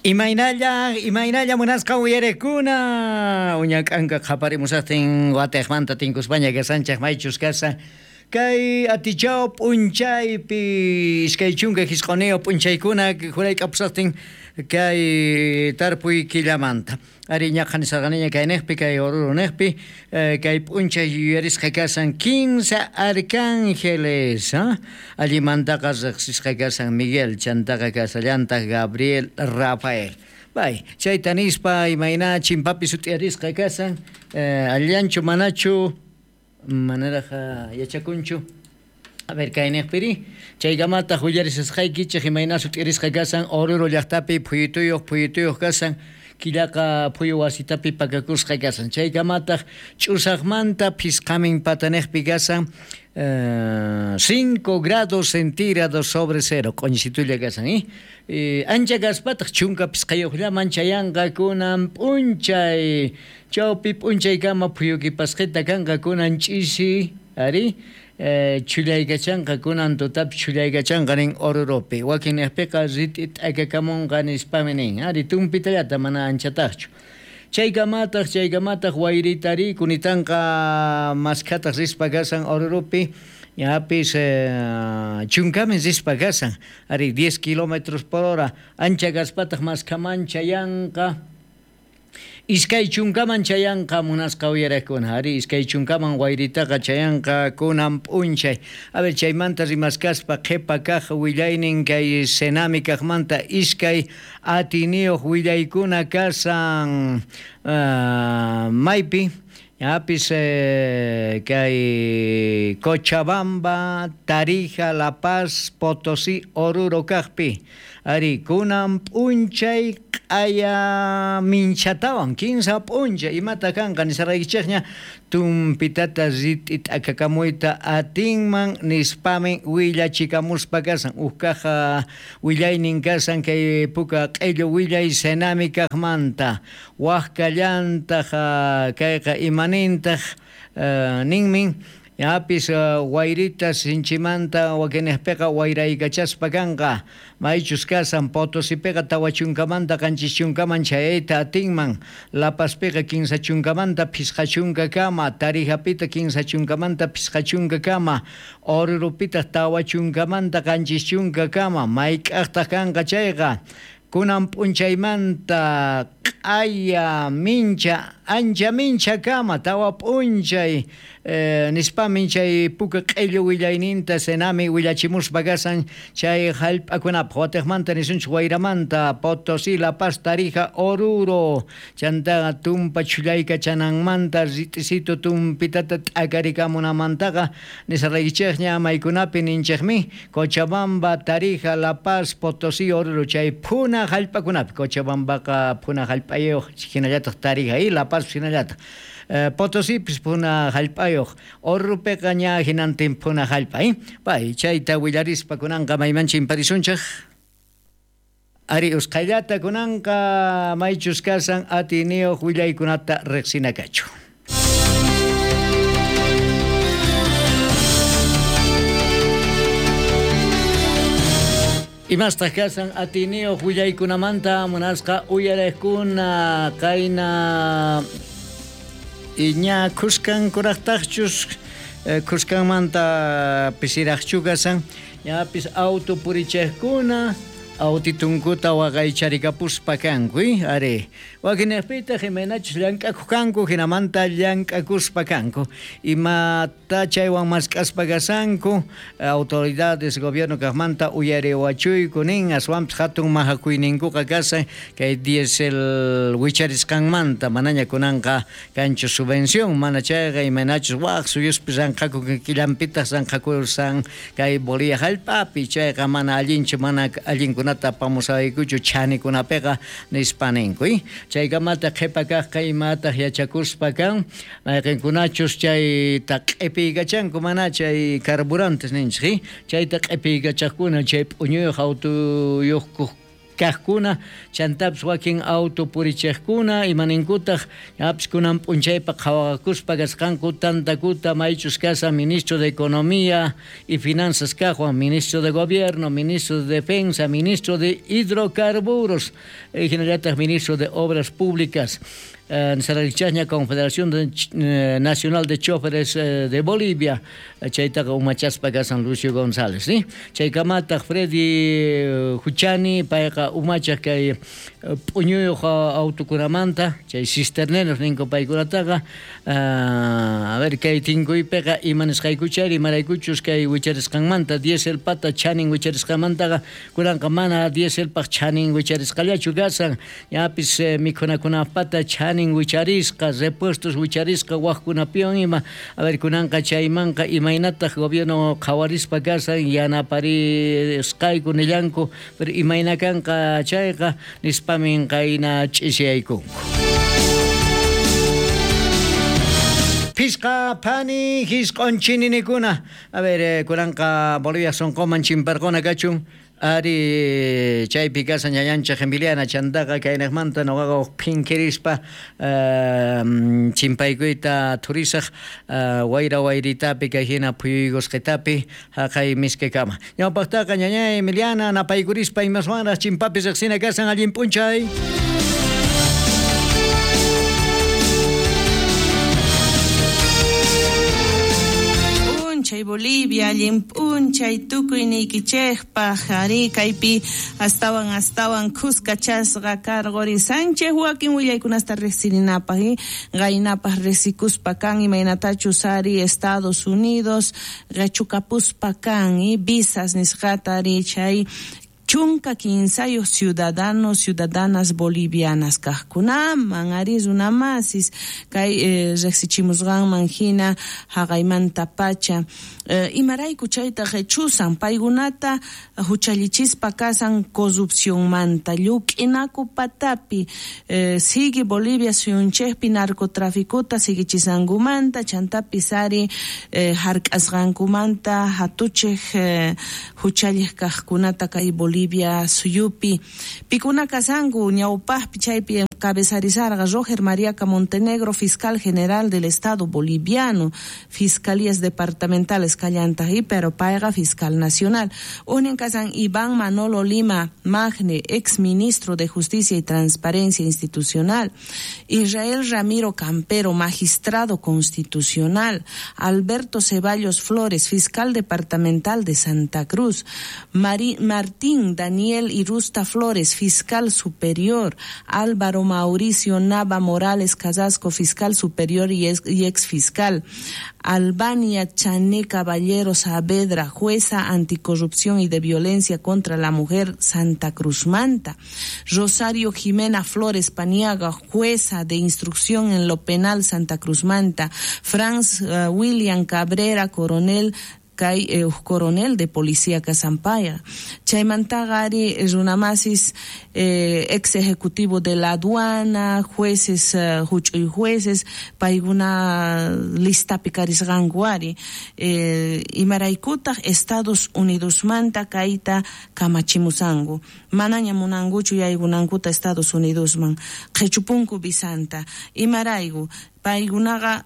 Imaynalla, imaynalla munasqa uyarekuna uñak'anka qhaparimusaqtin watejmanta tinkuspaña kasanchej maychus kasa kay atichaw p'unchaypi 25 p'unchaykuna jurayk'apusaqtin kay tarpuy killamanta. Ari ñaqa nisarqaniña kay niqpi, kay Oruro niqpi, kay p'unchay yuyarisqa kasan 15 arcángeles, allimantaqa riqsisqa kasan Miguel, chantaqa kasallantaq Gabriel, Rafael. Bay, chayta nispa imayna chimpapi sut'iyarisqa kasan, allanchu manachu manaraj yachakunchu. A ver, kay niqpiri, chaykamataq willarisqaykichej imayna sut'irisqa kasan Oruro llaqtapi phuyutuyuq kasan, killaqa phuyu wasitapi pakakusqa kasan. Chaykamataq ch'usaqmanta phisqamin pataniqpi kasan 5 grados centígrados sobre cero, q'uñisitulla kasan, ancha kaspataq 15 llaman chayanqa kunan p'unchay, chawpi p'unchaykama phuyukipasqita kanqa kunan ch'isi, ari, chhullaykachanqa kunan tutapi chhullaykachanqa nin Oruropi, wakin niqpiqa rit'i t'akakamunqa nispami nin, ari tumpitallata mana anchataqchu. Chaykamataq wayritari kunitanqa maskhataq rispa kasan Oruropi, ñapis chunkamin rispa kasan, ari 10 kilómetros por hora, ancha kaspataq maskhaman chayanqa, 20 chayanqa munasqa uyarekuna, ari 20 wayritaqa chayanqa kunan p'unchay. A ver, chaymanta rimaskaspa qhipa kaq willaynin kay Senami kaqmanta iskay atiniyuq willaykuna kasan maypi, ñapis kay Cochabamba, Tarija, La Paz, Potosí, Oruro kaqpi. Ari kunan p'unchay q'aya minchatawan, 15 p'unchay imata kanqa nisaraykichejña tumpitata rit'i t'akakamuyta atinman nispami willachikamuspa kasan. Uj kaja willaynin kasan kay puka q'illu willay Senami kaqmanta. Waj kallantaq kayqa imanintaq ninmin ñapis wayrita sinchimanta wakinejpiqa wayraykachaspa kanqa. Maychus kasan Potosipiqa 40manta 70man chayayta atinman, La Pazpiqa 30manta 50kama, Tarijapita 30manta 50kama, Orurupitaq 40manta 70kama, mayk'aqtaq kanqa chayqa. Kunan p'unchaymanta q'aya mincha, ancha mincha kama, tawa p'unchay, nispamin chay puka q'illu willayninta Senami willachimuspa kasan chay hallp'akunapaq. Watejmanta nisunchik wayramanta Potosí, La Paz, Tarija, Oruro, chantaqa tumpa chhullaykachananmanta rit'isitu tumpitata t'akarikamunamantaqa nisaraykichejña maykunapi ninchejmi Cochabamba, Tarija, La Paz, Potosí, Oruro, chay phuna hallp'akunapi. Cochabambaqa phuna hallp'ayuq hinallataq Tarija y La Paz hinallataq. Potosipis phuna hallp'ayuq, Oruropiqa ña hinantin phuna hallp'a, Pay chayta willarispa kunanqa mayman chimparisunchej. Ari usqhayllata kunanqa maychus kasan atiniyuq willaykunata riqsinakachu. Imastaq kasan atiniyuq willaykunamanta munasqa uyarejkuna qayna ña khuskan kuraqtaqchus, khuskanmanta pisiraqchu kasan, ñapis auto purichejkuna autitunkuta waqaycharikapuspa kanku, ari wakinejpitaq imaynachus llank'akuq kanku, hinamanta llank'akuspa kanku, imata chaywan mask'aspa kasanku, autoridades gobierno kaqmanta uyariwachuyku nin, aswanpis hatun mahakuyninkuqa kasan kay diésel wicharisqanmanta, manaña kunanqa kanchu subvención, mana chayqa imaynachus waq suyuspi ranqhaku killanpitaq ranqhakusan kay Bolivia hallp'api, chayqa mana allinchu, mana allinkunata apamusaykuchu chanikunapiqa nispa ninku, Chaykamata qhipa kaqqa imataq yachakuspa kan, mayqinkunachus chayta q'ipiykachanku, mana chay carburantes ninchik, chayta q'ipiykachaqkuna chay p'uñuyuq autuyuqkuq Kajkuna chantapis wakin auto purichejkuna imaninkutaq ñapis kunan p'unchaypa qhawakuspa kasqanku tantakuta maychus kashan ministro de Economía y Finanzas kajwan, ministro de Gobierno, ministro de Defensa, ministro de Hidrocarburos, hinallataq ministro de Obras Públicas. Nisararichasña Confederación Nacional de Choferes de Bolivia, chaytaqa umachaspa kasan Lucio González, ¿sí? Chaykamataq Freddy Huchani, payqa umachaq kay p'uñuyuq autokunamanta, chay cisterneros ninku paykunataqa, a ver kay tinkuypiqa ima nisqaykuchari, imaraykuchus kay wicharisqanmanta dieselpata chanin wicharisqanmantaqa kunanqa mana dieselpaq chanin wicharisqallachu kasan, ñapis mikhunakunapata chanin wicharisqa, repuestos wicharisqa wajkunapiwan ima, a ver kunanqa chaymanqa imaynataq gobierno qhawarispa kasan yanaparisqayku nillanku, pero imayna kanqa chayqa nispamin qayna ch'isiyaykunku. Pisqa phani hisq'on chininikuna, a ver kunanqa Bolivia sonqoman chimparquna kachun. Ari chaypi kasan ñañanchej Emiliana chantaqa kaynaqmanta noqaqa uj phinkirispa chimpaykuyta thurisaq wayra wayritapi kay hina phuyuygusqitapi haqay miskikama. Ñawpaqtaqa ñañay Emiliana napaykurispa imaswanraq chimpapi riqsina kasan allin p'unchay. Bolivia, allin p'unchay tukuy niykichejpaj, ari kaypi astawan astawan khuskachasqa karqori Sánchez wakin willaykunasta riqsirinapaj, qaynapaj riqsikuspa kan imaynatachus ari Estados Unidos qechukapuspa kan visas nisqata ari chay 13 ciudadanos, ciudadanas bolivianas kajkunaman ari runamasis kay riqsichimusqanman hina haqaymanta pacha imarayku chayta qhichusan paykunata huchallichispa kasan corrupcionmanta lluk'inaku patapi sigue Bolivia suyunchejpi narcotraficota siguichisankumanta chantapis ari hark'asqankumanta hatuchej huchalliq kajkunata kay Bolivia suyupi pikuna kasanku ñawpajpi chaypi cabezarizarga Roger Mariaca Montenegro, fiscal general del Estado boliviano, fiscalías departamentales Callantají, pero payqa fiscal nacional. Unin kasan Iván Manolo Lima Magne, ex ministro de Justicia y Transparencia Institucional, Israel Ramiro Campero, magistrado constitucional, Alberto Ceballos Flores, fiscal departamental de Santa Cruz, Martín Daniel Irusta Flores, fiscal superior, Álvaro Mauricio Nava Morales Casasco, fiscal superior y ex fiscal, Albania Chané Caballero Saavedra, jueza anticorrupción y de violencia contra la mujer Santa Cruz Manta, Rosario Jimena Flores Paniaga, jueza de instrucción en lo penal Santa Cruz Manta, Franz William Cabrera, coronel kay coronel de policía Casampaya, Chaymantaqa ari runamasis ex ejecutivo de la aduana, jueces huch'uy jueces paykuna listapi karisqanku ari imaraykutaq Estados Unidosmanta kayta kamachimusanku manaña munankuchu yaykunankuta Estados Unidosman qhichupunku visanta imarayku paykunaqa